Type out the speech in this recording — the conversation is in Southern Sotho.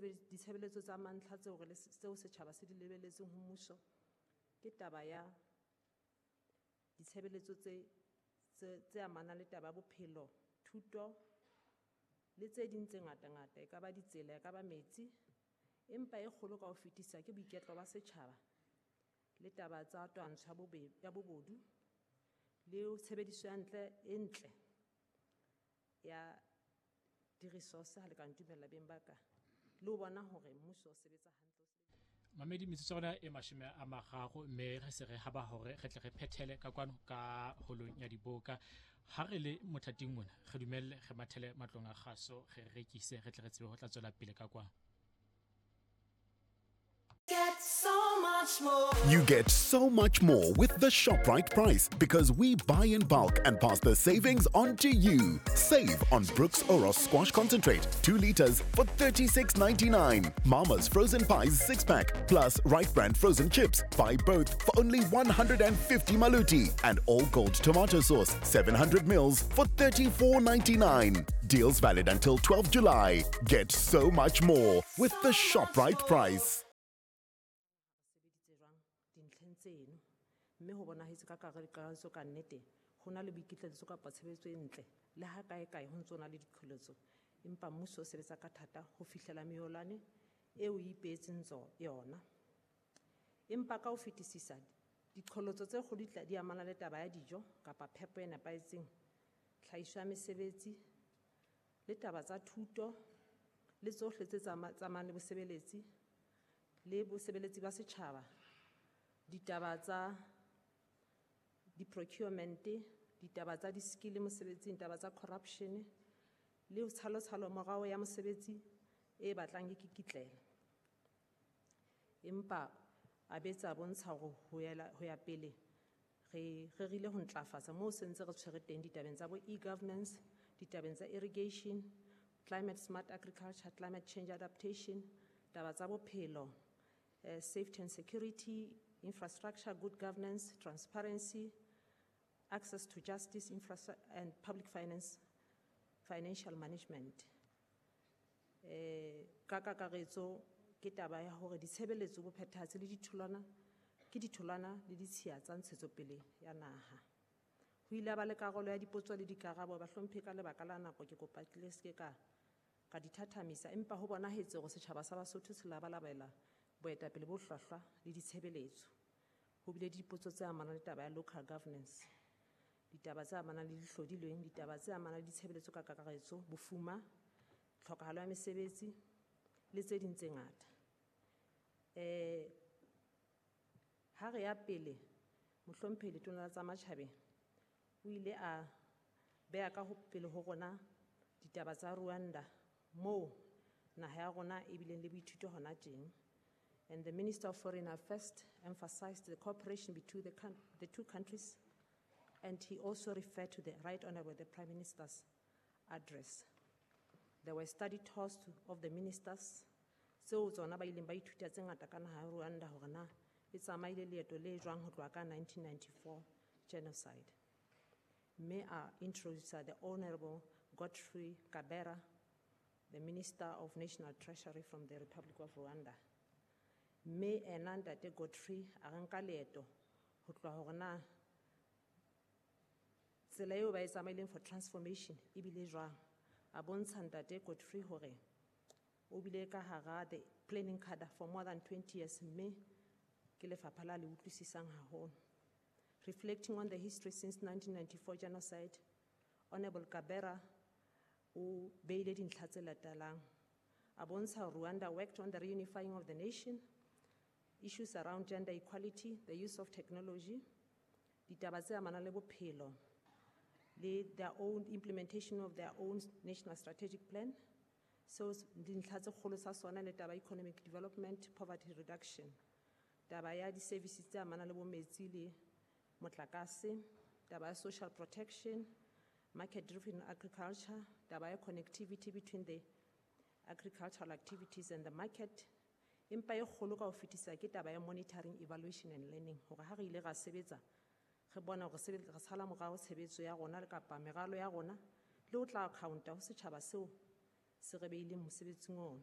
Ditshebeletso tsa mantlha tseo re le tseo setjhaba se di lebelletseng ho mmuso ke taba ya ditshebeletso tse amanang le taba ya bophelo, thuto le tse ding tse ngata-ngata, e ka ba ditsela, e ka ba metsi, empa e kgolo ka ho fetisa ke boiketlo ba setjhaba le taba tsa twantsho ya bobodu le tshebediso ya ntle e ntle ya di-resource ha le ka ntumella beng ba ka, le ho bona hore mmuso o sebetsa hantle. Mamedi, metsotso ya rona e 30, mme re se re haba hore re tle re phethele ka kwano ka holong ya diboka. Ha re le mothating mona, re dumelle re mathele matlong a kgaso, re rekise, re tle re tsebe ho tla tswela pele ka kwano. Get so much more. You get so much more with the ShopRite price because we buy in bulk and pass the savings on to you. Save on Brooks Oros Squash Concentrate, 2 liters for $36.99. Mama's Frozen Pies 6-pack plus Right Brand Frozen Chips. Buy both for only 150 maluti. And All Gold Tomato Sauce, 700 mils for $34.99. Deals valid until 12 July. Get so much more with the ShopRite price. Sebeditse jwang dintlheng tseno, mme ho bonahetse ka kakaretso ka nnete ho na le boikitlaetso kapa tshebetso e ntle le ha kae kae ho ntso na le diqholotso, empa mmuso o sebetsa ka thata ho fihlela meolwane eo o ipeetseng yona. Empa ka ho fetisisa diqholotso tse kgolo di amana le taba ya dijo kapa phepo e nepahetseng, tlhahiso ya mesebetsi le taba tsa thuto le tsohle tse tsamayang le bosebeletsi le bosebeletsi ba setjhaba, ditaba tsa di-procurement, ditaba tsa di-skill mosebetsing, taba tsa corruption le tshalotshalo morao ya mosebetsi e batlang e kikitlela. Empa a betsa bontsha hore ho ya pele re rerile ho ntlafatsa moo se ntse re tshwere teng ditabeng tsa bo e-governance, ditabeng tsa irrigation, climate smart agriculture, climate change adaptation, taba tsa bophelo, safety and security, infrastructure, good governance, transparency, access to justice, and public finance, financial management. Ka kakaretso ke taba ya hore ditshebeletso bo phethahatse le ditholwana ke ditholwana le ditshiya tsa ntshetsopele ya naha. Ho ile ba le karolo ya dipotso le dikarabo, bahlomphehi, ka lebaka la nako ke kopa ke le se ke ka di thathamisa, empa ho bonahetse hore setjhaba sa Basotho se labalabela boetapele bo hlwahlwa le ditshebeletso. Ho bile dipotso tse amanang le taba ya local governance, ditaba tse amanang le dihlodilweng, ditaba tse amanang le ditshebeletso ka kakaretso, bofuma, tlhokahalo ya mesebetsi le tse ding tse ngata. Ha re ya pele, mohlomphehi Letona la tsa Matjhabeng o ile a beha ka ho pele ho rona ditaba tsa Rwanda moo naha ya rona e bileng le boithuto hona teng. And the Minister of Foreign Affairs emphasized the cooperation between the two countries, and he also referred to the Right Honorable the Prime Minister's address. There were study tours of the ministers, tseo tsona ba ileng ba ithuta tse ngata ka naha ya Rwanda hore na e tsamaile leeto le jwang ho tloha ka 1994 genocide. May I introduce the Honorable Godfrey Kabera, the Minister of National Treasury from the Republic of Rwanda. Mme ena ntate Godfrey a re nka leeto ho tloha hore na tsela eo ba e tsamaileng for transformation e bile jwang. A bontsha ntate Godfrey hore o bile ka hara the planning cadre for more than 20 years, mme ke lefapha la le utlwisisang haholo. Reflecting on the history since 1994 genocide, Honorable Kabera o beile dintlha tse latelang. A bontsha Rwanda worked on the reunifying of the nation, issues around gender equality, the use of technology, ditaba tse amanang le bophelo, le their own implementation of their own national strategic plan. So dintlha tse kgolo tsa sona le taba economic development, poverty reduction, taba ya di-services tse amanang le bo metsi le motlakase, taba ya social protection, market-driven agriculture, taba ya connectivity between the agricultural activities and the market. Empa e kgolo ka ho fetisa ke taba ya monitoring, evaluation and learning, hore ha re ile ra sebetsa, re bona hore re sala morao tshebetso ya rona le kapa meralo ya rona, le ho tla account-a ho setjhaba seo se re beileng mosebetsing ono.